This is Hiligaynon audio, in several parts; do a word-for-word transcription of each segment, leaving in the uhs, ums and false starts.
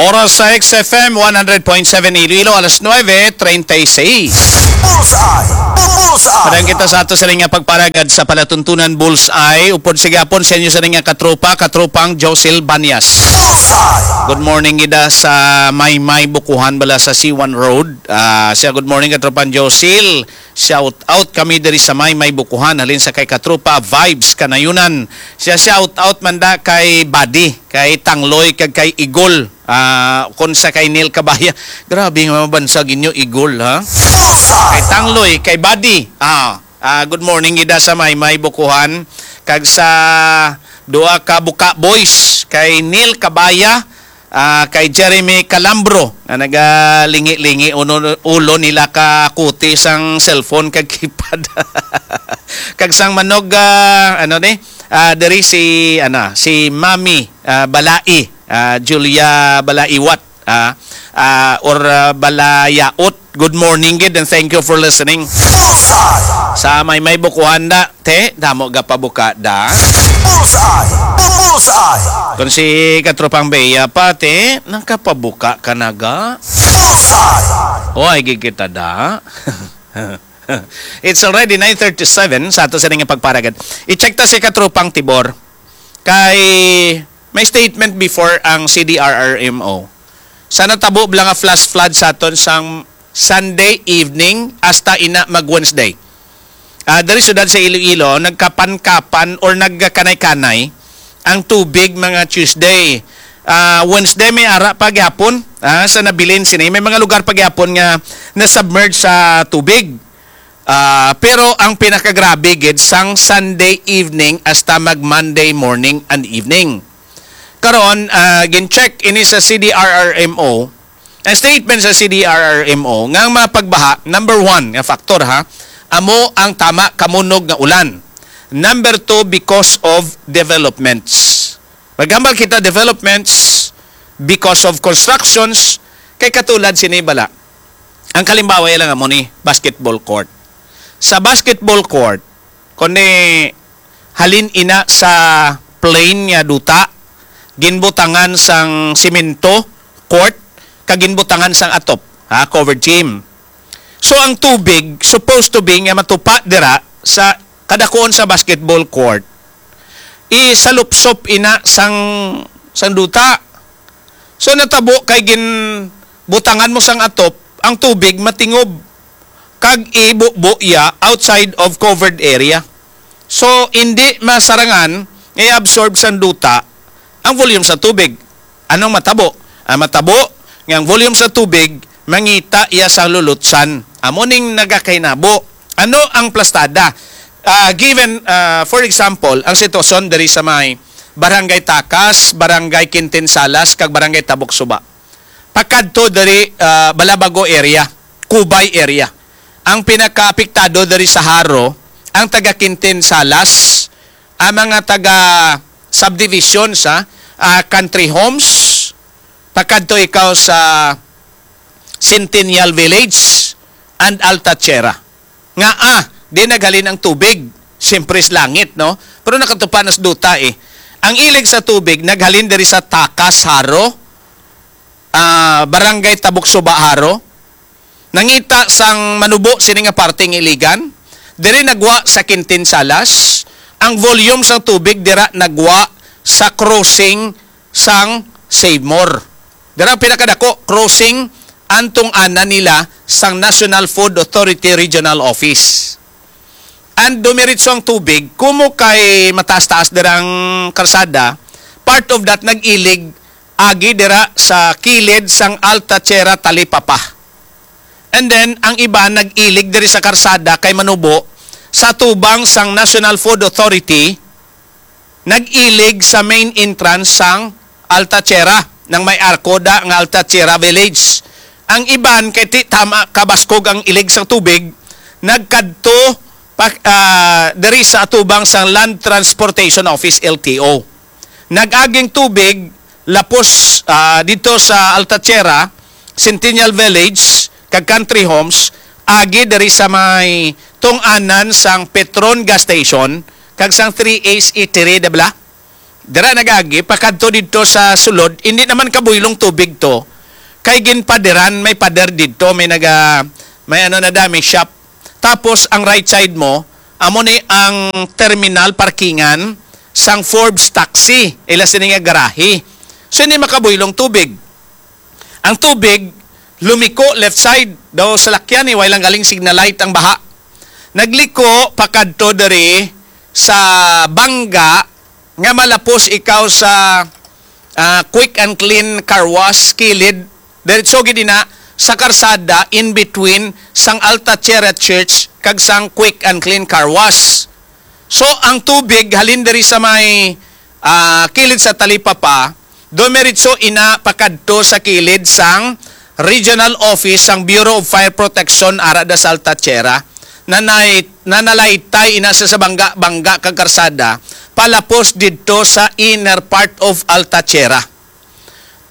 Oras sa X F M one hundred point seven Iloilo, alas nuebe treinta y seis. Bullseye! Bullseye! Padang kita sa ato sa nga pagparagad sa palatuntunan Bullseye. Upod sa gihapon sa inyo sa nga katropa, katropang Josil Banyas. Bullseye! Good morning, ida sa Maymay Bukuhan, bala sa C one Road. Ah, siya, good morning, katropang Josil. Shout out kami diri sa Maymay Bukuhan, halin sa kay katropa Vibes Kanayunan. Siya, shout out man da kay Buddy, kay Tangloy, kag kay Igol. Ah, kon sa kay Neil Kabaya. Grabe nga mabansag inyo, Igol, ha? Kay Tangloy, kay Buddy. Ah, ah, good morning, ida sa Maymay Bukuhan. Kag sa duha ka Buka Boys, kay Neil Kabaya, ah, kay Jeremy Calambro, na nagalingi-lingi uno, ulo nila ka kuti sang cellphone kag keypad. Kag sang manog, ah, ano ni? Ah, diri si, ano, si Mami, ah, Balai, ah, Julia Balaiwat, ah, ah, or, ah, Balayaot. Good morning gid and thank you for listening. Sa Maymay Bukuhan da, te, damo ga pabuka da. Bullseye! Bullseye! Kung si Katropang Bea pa, te, nakapabuka ka na ga? Bullseye! O, ay, gid kita da. It's already nine thirty-seven sa ato sa nga pagparagad. I-check ta si Katropang Tibor. Kay may statement before ang C D R R M O. Sa natabo bala nga flash flood sa aton sang Sunday evening hasta ina mag Wednesday. Ah, diri siyudad sa Iloilo, nagkapan-kapan or nagkanay-kanay ang tubig mga Tuesday. Ah, Wednesday may ara pa gyapon, ah, sa nabilin sini. May mga lugar pa gyapon nga nasubmerge sa tubig. Ah, pero ang pinakagrabe gid sang Sunday evening hasta mag Monday morning and evening. Karon, ah, gin-check ini sa C D R R M O. Ang statement sa C D R R M O nga ang mga pagbaha, number one nga factor, ha, amo ang tama kamunog nga ulan. Number two, because of developments. Maghambal kita developments because of constructions kay katulad sini bala. Ang kalimbawa lang amo ni basketball court. Sa basketball court, kundi halin ina sa plain nga duta, ginbutangan sang simento court, kag ginbutangan sang atop, ha, covered gym. So ang tubig supposed to be nga matupa dira sa kadakuon sa basketball court, isalupsop ina sang sang duta. So natabo kay ginbutangan mo sang atop, ang tubig matingob kag ibubo iya outside of covered area. So hindi masarangan nga i-absorb sang duta ang volume sa tubig. Anong matabo? Ang matabo nga ang volume sa tubig mangita iya sa lulutsan. Amo ning nagakainabo. Ano ang plastada? Ah, given, ah, for example, ang sitwasyon diri sa may Barangay Takas, Barangay Quintin Salas, kag Barangay Tabok Suba. Pakadto diri, ah, Balabago area, Cubay area. Ang pinakaapektado diri sa Jaro, ang taga Quintin Salas, ang mga taga subdivision sa, ah, Country Homes, pakadto ikaw sa Centennial Village and Alta Tierra. Nga, ah, di naghalin ang tubig, siyempre sa langit, no? Pero nakatupa na sa duta, eh. Ang ilig sa tubig naghalin diri sa Takas, Jaro, ah, Barangay Tabok Suba, Jaro. Nangita sang manubo sini nga parte nga iligan. Diri nagwa sa Quintin Salas. Ang volume sang tubig dira nagwa sa crossing sang Savemore. Dira ang pinakadako, crossing ang tungana nila sang National Food Authority Regional Office. And dumiritso ang tubig, kumo kay mataas-taas dira ang karsada, part of that nag-ilig agi dira sa kilid sang Alta Tierra Talipapa. And then, ang iba nag-ilig diri sa karsada kay manubo sa tubang sang National Food Authority, nag-ilig sa main entrance sang Alta Tierra, nang may arko da nga Alta Tierra Village. Ang iban kay ti tama kabaskog ang ilig sang tubig, nagkadto pa, ah, diri sa atubang sang Land Transportation Office, L T O. Nag-aging tubig lapos, ah, dito sa Alta Tierra, Centennial Village, kag Country Homes, agi diri sa may tungaanan sang Petron gas station kag sang three A's Eatery, di ba? Dira nag-agi, pakadto didto sa sulod, hindi naman kabuylong tubig to. Kay ginpaderan, may pader didto, may naga, may ano na da, may shop. Tapos ang right side mo, amo ni ang terminal parkingan sang Forbes Taxi, ila sini nga garahe. So hindi makabuylong tubig. Ang tubig, lumiko left side, daw salakyan ni, way lang galing signal light ang baha. Nagliko pakadto diri sa bangga nga malapos ikaw sa, ah, Quick and Clean Car Wash, kilid, diretso gid ina sa karsada in between sang Alta Tierra Church kag sang Quick and Clean Car Wash. So, ang tubig halin diri sa may, ah, kilid sa talipapa, dumiretso ina pakadto sa kilid sang regional office sang Bureau of Fire Protection ara da sa Alta Tierra. Nanay-, nanalaytay ina sa, sa bangga-bangga kag karsada, palapos didto sa inner part of Alta Tierra.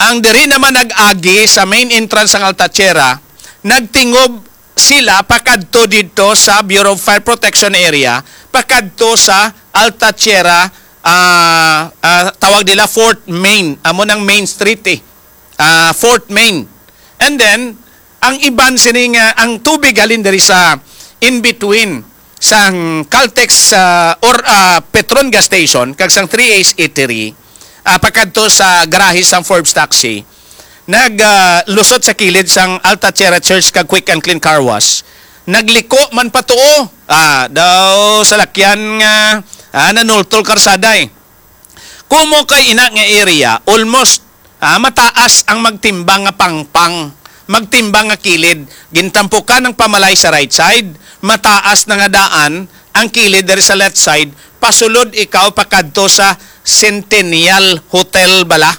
Ang diri naman nag-agi sa main entrance sang Alta Tierra, nagtingob sila pakadto didto sa Bureau of Fire Protection area, pakadto sa Alta Tierra, ah, ah, tawag nila Fourth Main, amo nang Main Street eh. Ah, Fourth Main. And then, ang iban sini nga, ang tubig halin diri sa in between sang Caltex, ah, or, ah, Petron gas station kag sang Three Ace Eatery, ah, pakadto sa garahe sang Forbes Taxi, nag, ah, lusot sa kilid sang Alta Tierra Church kag Quick and Clean Car Wash. Nagliko man patuo, ah, daw salakyan nga, ah, nanultol karsada eh. Kumo kay ina nga area, almost, ah, mataas ang magtimbang nga pangpang, magtimbang nga kilid. Gintampukan ang pamalay sa right side, mataas na nga daan ang kilid diri sa left side, pasulod ikaw pakadto sa Centennial Hotel bala.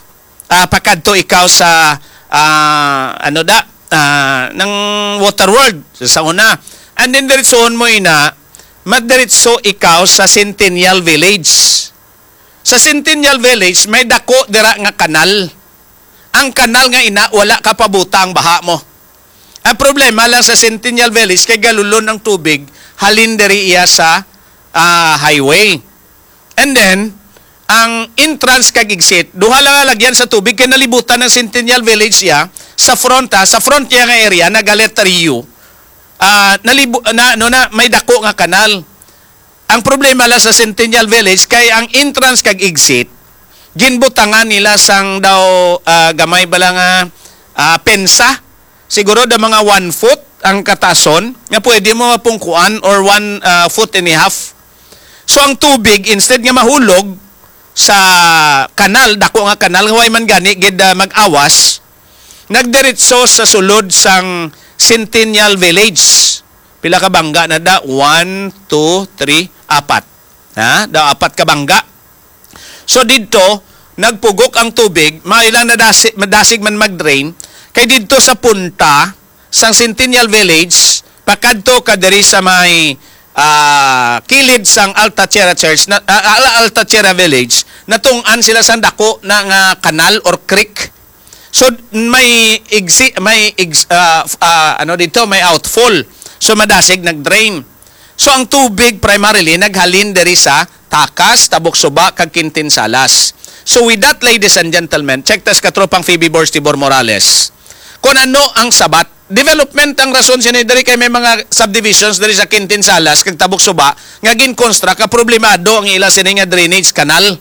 Ah, pakadto ikaw sa, ah, ano da, ah, ng Water World sa una. And then diretsoon mo ina, madiretso ikaw sa Centennial Village. Sa Centennial Village, may dako dira nga kanal. Ang kanal nga ina, wala ka pabuta ang baha mo. Ang problema lang sa Centennial Village, kay galulon ang tubig, halin diri iya sa, ah, highway. And then, ang entrance kag exit, duha lang nga lagyan sa tubig, kay nalibutan ng Centennial Village iya, sa front, ha, sa front niya nga area, naga letter U. Ah, nalibu-, na, ano na, may dako nga kanal. Ang problema lang sa Centennial Village kay ang entrance kag exit, ginbutangan nila sang daw, ah, gamay bala nga, ah, pensa. Siguro da mga one foot ang katason nga pwede mo mapungkuan or one, ah, foot and a half. So ang tubig, instead nga mahulog sa kanal, dako nga kanal, nga way man gani gid, ah, mag-awas, nagdiretso sa sulod sang Centennial Village. Pila ka bangga na da? One, two, three, apat. Ha? Da, apat ka bangga. So didto, nagpugok ang tubig, may lang nadasi-, madasig man mag-drain, kay didto sa punta sang Centennial Village, pakadto ka diri sa may, ah, kilid sang Alta Tierra Church, na, ah, Al-, Alta Tierra Village, natungtan sila sang dako na nga kanal or creek. So may exi-, may ex-, ah, f-, ah, ano dito, may outfall. So madasig nag-drain. So ang tubig primarily naghalin diri sa Takas, Tabok Suba, kag Quintin Salas. So with that, ladies and gentlemen, check tas katropang Phoebe Borge Tibor Morales. Kung ano ang sabat, development ang rason sini diri kay may mga subdivisions diri sa Quintin Salas kag Tabok Suba nga gin-construct ka problemado ang ila sini nga drainage canal.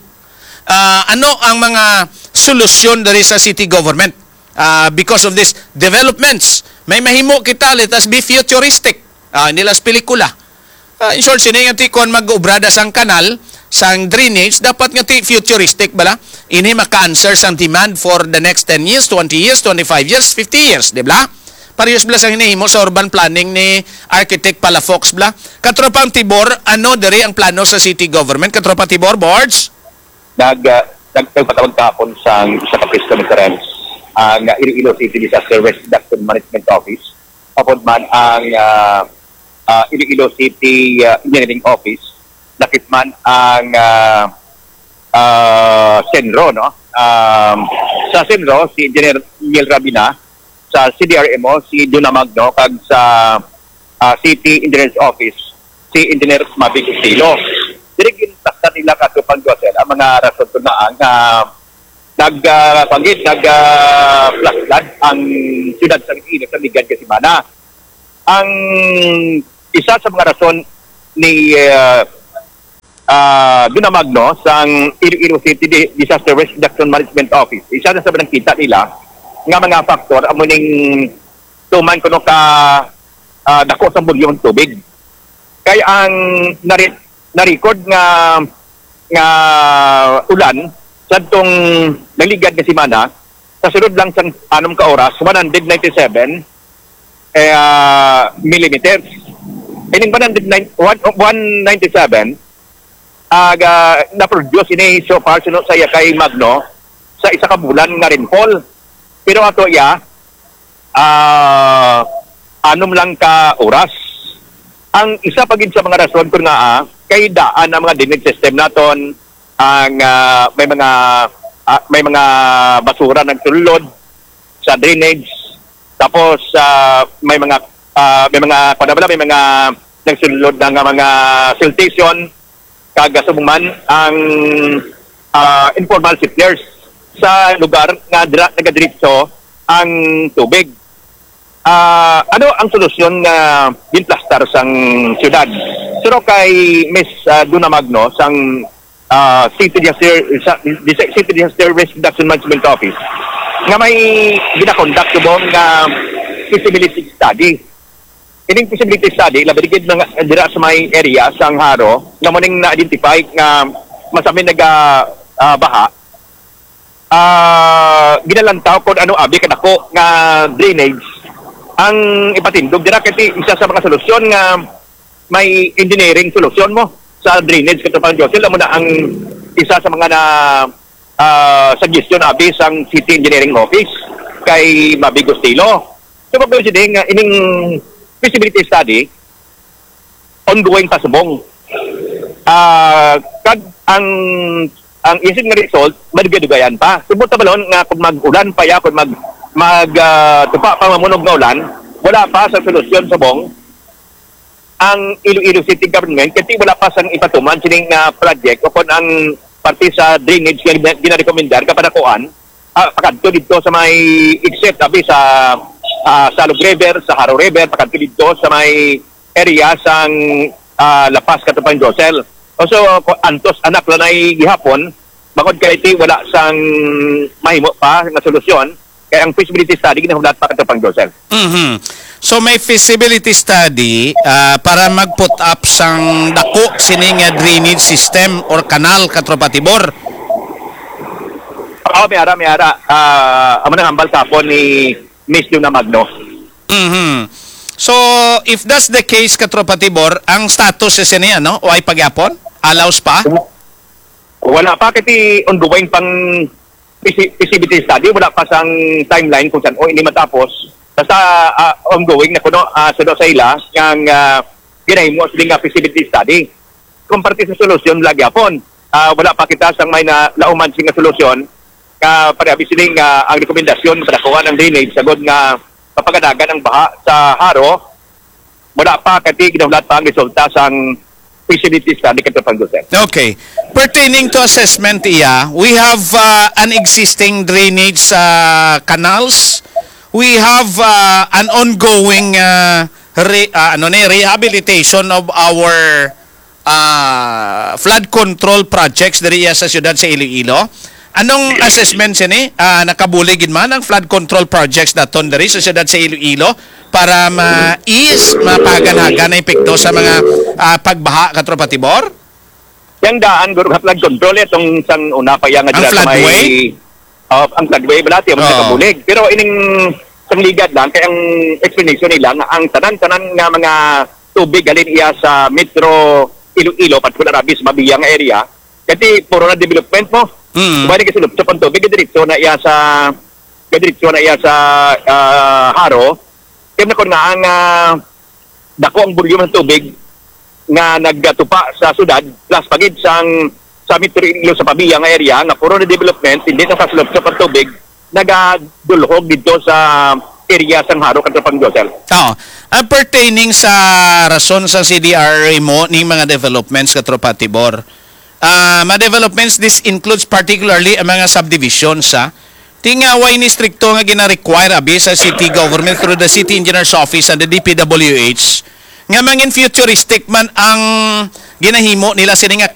Ah, ano ang mga solusyon diri sa city government? Ah, because of these developments, may mahimo kita, let us be futuristic. Ah, hindi lang sa pelikula. Ah, in short, sini nga ti kon mag-obrada sang kanal, sang drainage, dapat nga ti futuristic bala. Ini maka-answer sang demand for the next ten years, twenty years, twenty-five years, fifty years, di ba? Parehas bala sang hinihimo sa urban planning ni Architect Palafox bala. Katropang Tibor, ano diri ang plano sa city government? Katropang Tibor, Borge? Nag, ah, nag-, nagpatawag kahapon sang isa ka press conference ang, ah, Iloilo City Disaster Risk Reduction Management Office, upod man ang, ah, ah, Iloilo City, ah, Engineering Office, lakip man ang, ah, ah, CENRO, no? Um, sa CENRO, si Engineer Neil Rabina, sa C D R M O, si Duna Magno, kag sa, ah, City Engineers Office, si Engineer Mavic Estilo. Diri ginplastar nila, Katropang Josel, ang mga rason kung ngaa nga nag, ah, panggid, nag, ah, flash flood ang siyudad sa Iloilo sa ligad nga semana. Ang isa sa mga rason ni, ah, ah, Duna Magno sang Iloilo City Di-, Disaster Risk Reduction Management Office, isa na sa nangkita nila nga mga factor amo ning tuman kuno ka, ah, dako sa volume ng tubig. Kay ang nari-, na-record nga, nga ulan sa tong naligad nga semana, sa sulod lang sang anom ka oras, one hundred ninety-seven, eh, ah, millimeters. Ining one hundred nine, one, one ninety-seven, ah, ga-, na-produce ini so far, suno sa iya kay Magno, sa isa ka bulan nga rainfall. Pero ato iya, ah, anom lang ka oras. Ang isa pa gid sa mga rason kung ngaa kay daan ang mga drainage system naton, ang, ah, may mga, ah, may mga basura nagsulod sa drainage. Tapos, ah, may mga, ah, may mga, kuwan na bala, may mga nagsulod na nga mga siltation, kag subong man ang, ah, informal settlers sa lugar nga dira nagadiretso ang tubig. Ah, ano ang solusyon nga ginplastar sang siyudad? Pero kay Miss, ah, Duna Magno sang, ah, City Disaster, sa, Disa-, City Disaster Risk Reduction Management Office nga may ginakondak subong nga feasibility study. Ining feasibility study, labi gid nga dira sa may area sang Jaro, nga mo ning na-identify nga masamin naga, ah, baha, ah, ginalantaw kung ano abi kadako nga drainage ang ipatindog dira, kay ti isa sa mga solusyon nga may engineering solusyon mo sa drainage, Katropang Josel, amo na ang isa sa mga na, ah, suggestion abi sang City Engineering Office kay Mabi Gustilo. So, pag sini nga ining feasibility study, ongoing pa subong. Ah, kag ang, ang isip nga result, madugay-dugayan pa. Subot ta balon nga kung mag-ulan pa ya, kung mag, mag, ah, tupa pa mamunog nga ulan, wala pa sa solusyon subong ang Iloilo City Government, kasi wala pa sang ipatuman sini nga project o kung ang parte sa drainage nga gina-, ginarekomendar nga panakuan, ah, pakadto dito sa may exit, abi sa, ah, Salog River, sa Jaro River, pakadto dito sa may area sang, ah, La Paz, Katropang Josel. O, so, ko-, antos anak lang ay gihapon, bangod kay ti wala sang mahimo pa nga solusyon, kay ang feasibility study ginahulat pa, Katropang Josel. Mhm. So, may feasibility study, ah, para mag-put up sang dako sini nga drainage system or kanal, Katropa Tibor? Oo, may ara, may ara. Ah, amo nang hambal kapon ni Miss Duna Magno. Mhm. So, if that's the case, Katropa Tibor, ang status sa sini, ano? Way pa gyapon? Allows pa? Wala pa, kasi ongoing pang fisi-, feasibility study, wala pa sang timeline kung saan o ini matapos. Basta, ah, ongoing na kuno, ah, suno sa ila, ang, ah, ginahimo sila nga feasibility study. Kung parte sa solusyon, lagi hapon, ah, wala pa kita sang may na, lauman sing nga solusyon, nga pare-, abi sini nga ang rekomendasyon, padakuan ang drainage, sagod nga mapaganagan ang baha sa Jaro, wala pa, kati ginahulat pa ang resulta sang feasibility study, Katropang Josel. Okay. Pertaining to assessment, iya, we have, uh, an existing drainage, uh, canals. We have, uh, an ongoing, uh, re-, uh, ano ni, rehabilitation of our, uh, flood control projects diri iya sa siyudad sa Iloilo. Anong assessment sini? Ah, nakabulig gid man ang flood control projects naton diri sa siyudad sa Iloilo para ma-ease, mapagan-hagan ang epekto sa mga, ah, pagbaha, Katropa Tibor? Yang daan, guro, nga flood control, itong sang una pa yang Ang dira sa may floodway? Oh, ang floodway, balati, ang Oo. nakabulig. Pero ining sang ligad lang, kay ang explanation nila nga ang tanan-tanan nga mga tubig halin iya sa Metro Iloilo, particular abi sa Mabia nga area, kasi puro na development mo. Mm. Diba, nagasulupsop ang tubig, diretso na iya sa, diretso na iya sa, ah, Jaro. Kaya na kun nga ang, ah, dako ang volume ng tubig nga nagatupa sa syudad, plus pagid sang, sa Metro Iloilo sa Pabia nga area, nga puro na development, hindi na sa sulupsop ang tubig, nagadulhog dito sa area sang Jaro, Katropang Josel. Oo. Ang pertaining sa rason sa C D R R A mo ning mga developments, Katropa Tibor, ah, mga developments, this includes particularly ang mga subdivisions, ha? Ti nga way ni strikto nga gina-require abi sa city government through the city engineer's office and the D P W H nga mangin futuristic man ang ginahimo nila sini nga